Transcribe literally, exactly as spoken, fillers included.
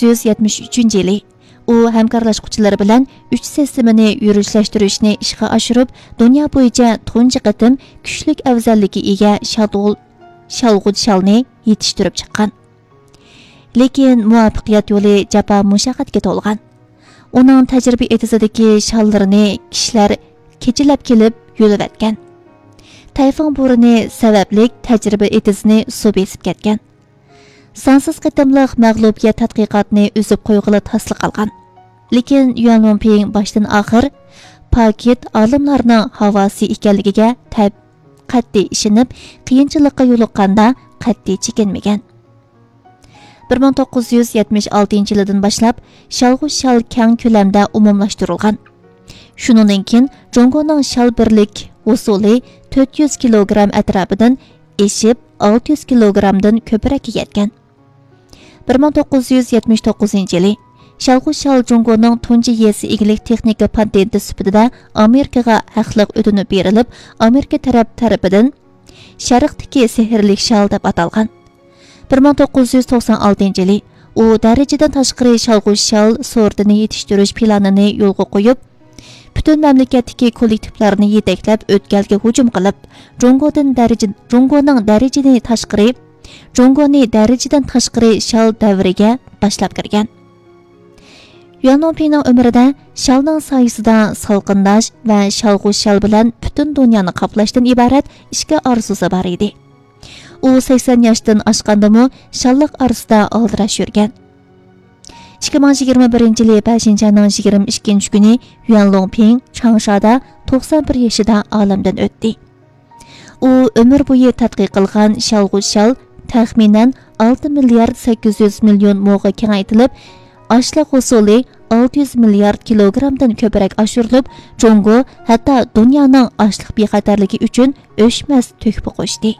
يۈز يەتمىش ئۈچىنچى يىلى ئۇ ھەمكارلاشقۇچىلىرى بىلەن ئۈچ سىستېمىنى يۈرۈشلەشتۈرۈشنى ئىشقا ئاشۇرۇپ، دۇنيا بويىچە تۇنجى قېتىم كۈچلۈك ئەۋزەللىككە ئىگە شادغۇل-، شالغۇت شالنى يېتىشتۈرۈپ چىققان. لېكىن مۇۋەپپەقىيەت يولى جاپا مۇشەققەتكە تولغان. ئۇنىڭ تەجرىبە ئېتىزىدىكى شاللىرىنى كىشىلەر كېچىلەپ كېلىپ يۆلەۋەتكەن. تەيفۇڭ بورىنى سەۋەبلىك تەجرىبە ئېتىزىنى سۇ بېسىپ كەتكەن. سانسىز قېتىملىق مەغلۇبىيەت تەتقىقاتنى ئۈزۈپ قويغىلى تاسلا قالغان. لېكىن يۈەن لۇڭپىڭ باشتىن ئاخىر پاكىت ئالىملارنىڭ ھاۋاسى ئىكەنلىكىگە تەپ-، قەتئىي ئىشىنىپ، قىيىنچىلىققا يولۇققاندا قەتئىي چېكىنمىگەن. بىر مىڭ توققۇز يۈز يەتمىش ئالتىنچى يىلىدىن باشلاپ شالغۇ شال كەڭ كۆلەمدە ئومۇملاشتۇرۇلغان. شۇنىڭدىن كېيىن جۇڭگونىڭ شال بىرلىك ھوسۇلى تۆت يۈز كىلوگرام ئەتراپىدىن ئېشىپ، ئالتە يۈز كىلوگرامدىن كۆپرەككە يەتكەن. بىر مىڭ توققۇز يۈز يەتمىش توققۇزىنچى يىلى شالغۇ شال جۇڭگونىڭ تۇنجى يېزا ئىگىلىك تېخنىكا پاتېنتى سۈپىتىدە ئامېرىكىغا ھەقلىق ئۆتۈنۈپ بېرىلىپ، ئامېرىكا تەرەپ تەرىپىدىن شەرقتىكى سېھىرلىك شال دەپ ئاتالغان. بىر مىڭ توققۇز يۈز توقسان ئالتىنچى يىلى ئۇ دەرىجىدىن تاشقىرى شالغۇ شال سورتىنى يېتىشتۈرۈش پىلانىنى يولغا قويۇپ، پۈتۈن مەملىكەتتىكى كوللېكتىپلارنى يېتەكلەپ ئۆتكەلگە ھۇجۇم قىلىپ، جۇڭگودىن دەرىجە-، جۇڭگونىڭ دەرىجىنى تاشقىرى، جۇڭگونى دەرىجىدىن تاشقىرى شال دەۋرىگە باشلاپ كىرگەن. يۈەن لۇڭپىڭنىڭ ئۆمرىدە شالنىڭ سايىسىدا سالقىنداش ۋە شالغۇ شال بىلەن پۈتۈن دۇنيانى قاپلاشتىن ئىبارەت ئىككى ئارزۇسى بار ئىدى. ئۇ سەكسەن ياشتىن ئاشقاندىمۇ شاللىق ئارىسىدا ئالدىراش يۈرگەن. ئىككى مىڭ يىگىرمە بىرىنچى يىلى بەشىنچى ئاينىڭ يىگىرمە ئىككىنچى كۈنى يۈەن لۇڭپىڭ چاڭشادا توقسان بىر يېشىدا ئالەمدىن ئۆتتى. ئۇ ئۆمۈر بويى تەتقىق قىلغان شالغۇ شال تەخمىنەن ئالتە مىليارد سەككىز يۈز مىليون موغا كېڭەيتىلىپ، ئاشلىق ھوسۇلى ئالتە يۈز مىليارد كىلوگرامدىن كۆپرەك ئاشۇرۇلۇپ، جۇڭگو ھەتتا دۇنيانىڭ ئاشلىق بىخەتەرلىكى ئۈچۈن ئۆچمەس تۆھپە قوشتى.